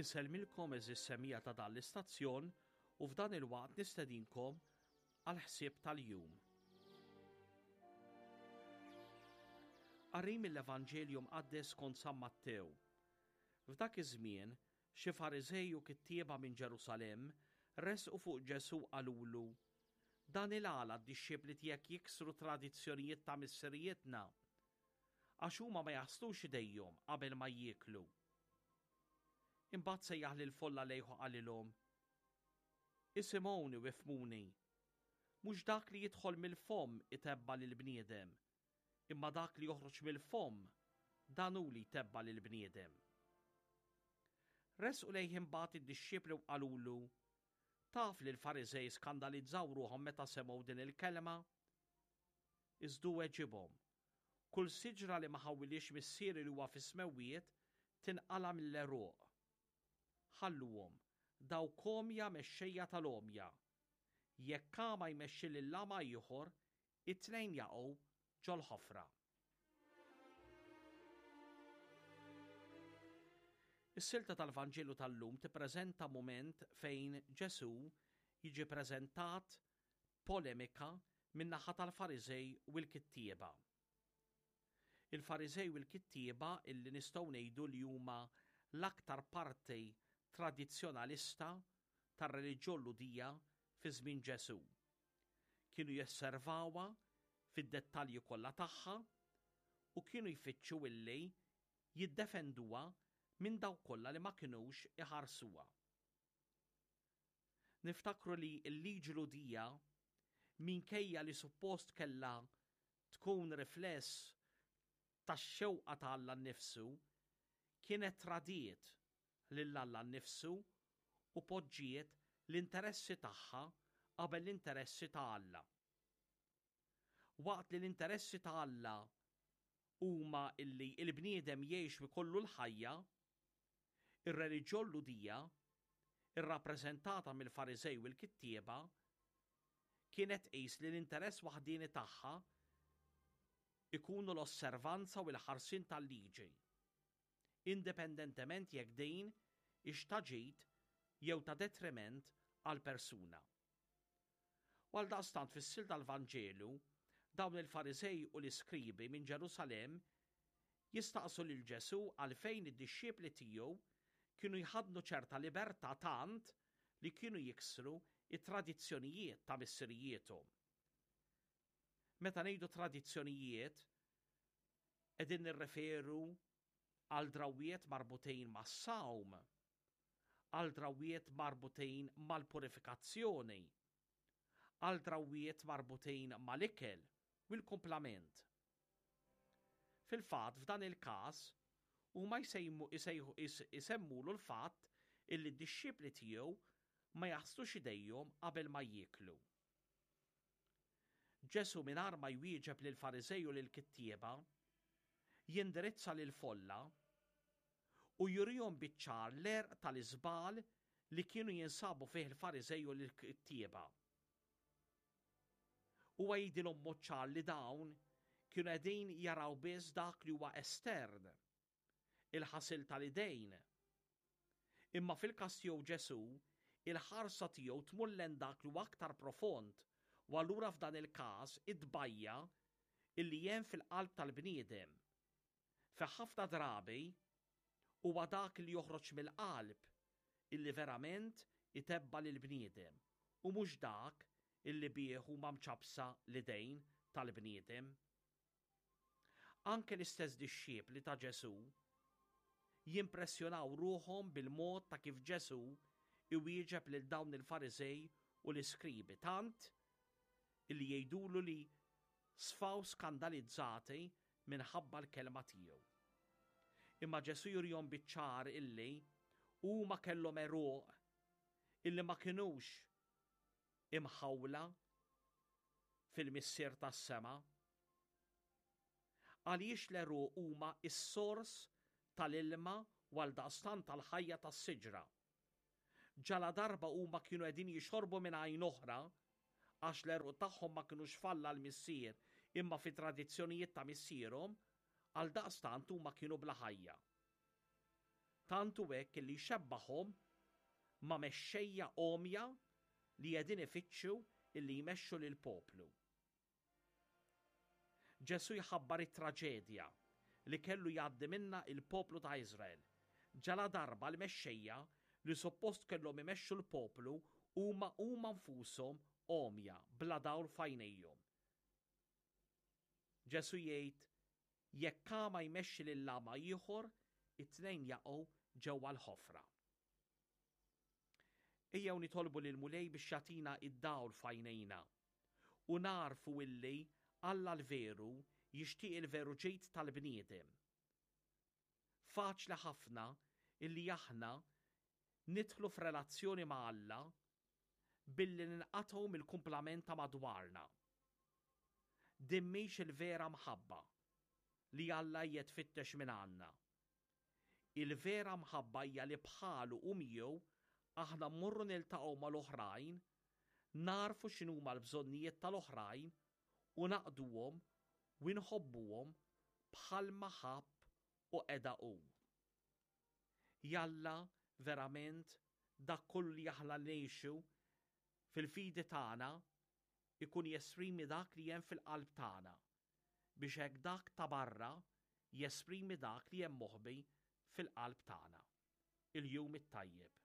Insellmilkom għeżież semmiegħa ta' dan l-istazzjon u f'dan il-waqt nistedinkom għall-ħsieb tal-jum. Qari mill-Evanġelju Mqaddes skont San Mattew. F'dak iż-żmien, xi Fariżej u kittieba minn Ġerusalemm resqu fuq Ġesù u qalulu, Dan il-għala d-dixxipli tiegħek jiksru tradizzjonijiet ta' missirijietna? Għax huma ma jaħslux idejhom qabel ma jieklu. Imbagħad sejjaħ lill-folla lejh u qalilhom, Isimgħuni u ifhmuni. Mhux dak li jidħol mill-fomm itebba' lill-bniedem, imma dak li joħroġ mill-fomm, dan hu li jtebba' lill-bniedem. Resqu lejh imbagħad id-dixxipli u qalulu, Taf li l-Fariżej skandalizzaw ruħhom meta semgħu din il-kelma? Iżda hu weġibhom, Kull siġra li ma ħawwilhiex Missieri li huwa fis-smewwiet tinqala' mill-għeruq. Ħalluhom, dawk għomja mexxejja tal-għomja. Jekk agħma jmexxi lil agħma ieħor, it-tnejn jaqgħu ġol-ħofra. Is-silta tal-Vanġelu tal-lum tippreżenta mument fejn Ġesù jiġi preżentat polemika min-naħa tal-Fariżej u l-kittieba. Il-Fariżej u l-kittieba illi nistgħu ngħidu li huma l-aktar parti tradizzjonalista tar-reliġjon Lhudija fi żmien Ġesù. Kienu josservawha fid-dettalji kollha tagħha u kienu jfittxu illi jiddefenduha minn dawk kollha li ma kinux iħarsuha. Niftakru li l-liġi Lhudija, minkejja li suppost kellha tkun rifless tax-xewqa ta' Alla nnifsu, kienet tradiet lil Alla nnifsu u poġġiet l-interessi tagħha qabel l-interessi ta' Alla. Waqt li l-interessi ta' Alla huma illi l-bniedem jgħix u jkollu l-ħajja, ir-reliġjon Lhudija, irrappreżentata mill-Fariżej u l-kittieba, kienet tqis li l-interess waħdieni tagħha jkunu l-osservanza u l-ħarsien tal-liġi. indipendentement jekk din hix ta' ġid jew ta' detriment għall-persuna. U għaldaqstant fis-sil tal-Vanġelu, dawn il-Fariżej u l-iskribi minn Ġerusalemm jistaqsu lil Ġesù għalfejn id-dixxipli tiegħu kienu jħaddnu ċerta libertà tant li kienu jiksru t-tradizzjonijiet ta' missirijiethom. Meta ngħidu tradizzjonijiet, Qegħdin nirreferu għal drawwiet marbutin mas-sawm, għal drawwiet marbutin mal-purifikazzjoni, għal drawwiet marbutin mal-ikel u l-kumplament. Fil-fatt, f'dan il-każ, huma jsemmulu l-fatt illi d-dixxipli tiegħu ma jaħslux idejhom qabel ma jieklu. Ġesù mingħajr ma jwieġeb lill-Fariżej u lill-kittieba, jindirizza lill-folla u jurihom biċ-ċar l-għerq tal-iżball li kienu jinsabu fih il-Fariżej u l-kittieba. Huwa jgħidilhom b'mod ċar li dawn kienu qegħdin jaraw biss dak li huwa estern, il-ħasil tal-idejn. Imma fil-każ tiegħu Ġesù, il-ħarsa tiegħu tmur lejn dak li huwa aktar profond u allura f'dan il-każ it-tbajja' illi hemm fil-qalb tal-bniedem. Fi ħafna drabi huwa dak li joħroġ mill-qalb illi verament itebba' lill-bniedem u mhux dak illi bih huma mċappsa l-idejn tal-bniedem. Anke l-istess dixxipli ta' Ġesù jimpressjonaw ruħhom bil-mod ta' kif Ġesù iwieġeb lil dawn il-Fariżej u l-iskribi tant illi jgħidulu li sfaw skandalizzati minħabba l-kelma tiegħu. Imma Ġesù jurihom biċ-ċar illi huma kellhom għeruq illi ma kinux imħawla fil-Missier tas-sema. Għaliex l-għeruq huma s-sors tal-ilma u għaldaqstant tal-ħajja tas-siġra. Ġaladarba huma kienu qegħdin jixorbu minn għajn oħra, għax l-għeruq tagħhom ma kinux f'Alla l-Missier imma fit-tradizzjonijiet ta' missierhom, għaldaqstant huma kienu bla ħajja. Tant hu hekk illi jxebbahhom ma' mexxejja għomja li qegħdin ifittxu illi jmexxu lill-poplu. Ġesù jħabbar it-traġedja li kellu jgħaddi minnha il-poplu ta' Iżrael, ġaladarba l-mexxejja li suppost kellhom imexxu l-poplu huma huma nfushom għomja, bla dawl f'għajnejhom. Ġesù jgħid, Jekk agħma jmexxi lil agħma ieħor, it-tnejn jaqgħu ġewwa l-ħofra. Ejjew nitolbu lill-Mulej biex jagħtina d-dawl f'għajnejna u nagħrfu illi Alla l-veru jixtieq il-veru ġid tal-bniedem. Faċli ħafna illi aħna nidħlu f'relazzjoni ma' Alla billi ninqatgħu mill-kumplament ta' madwarna. Din mhix il-vera mħabba li Alla qiegħed fittex minn għandna. Il-vera mħabba hija li bħalu u miegħu aħna mmorru niltaqgħu mal-oħrajn, nagħrfu x'inhuma l-bżonnijiet tal-oħrajn u naqduhom u nħobbuhom bħalma ħabb u qeda hu. Jalla verament dak kollu li aħna ngħixu fil-fidi tagħna ikun jesprimi dak li hemm fil-qalb tagħna biex hekk dak ta' barra jesprimi dak li hemm moħbi fil-qalb tagħna. Il-jum it-tajjeb.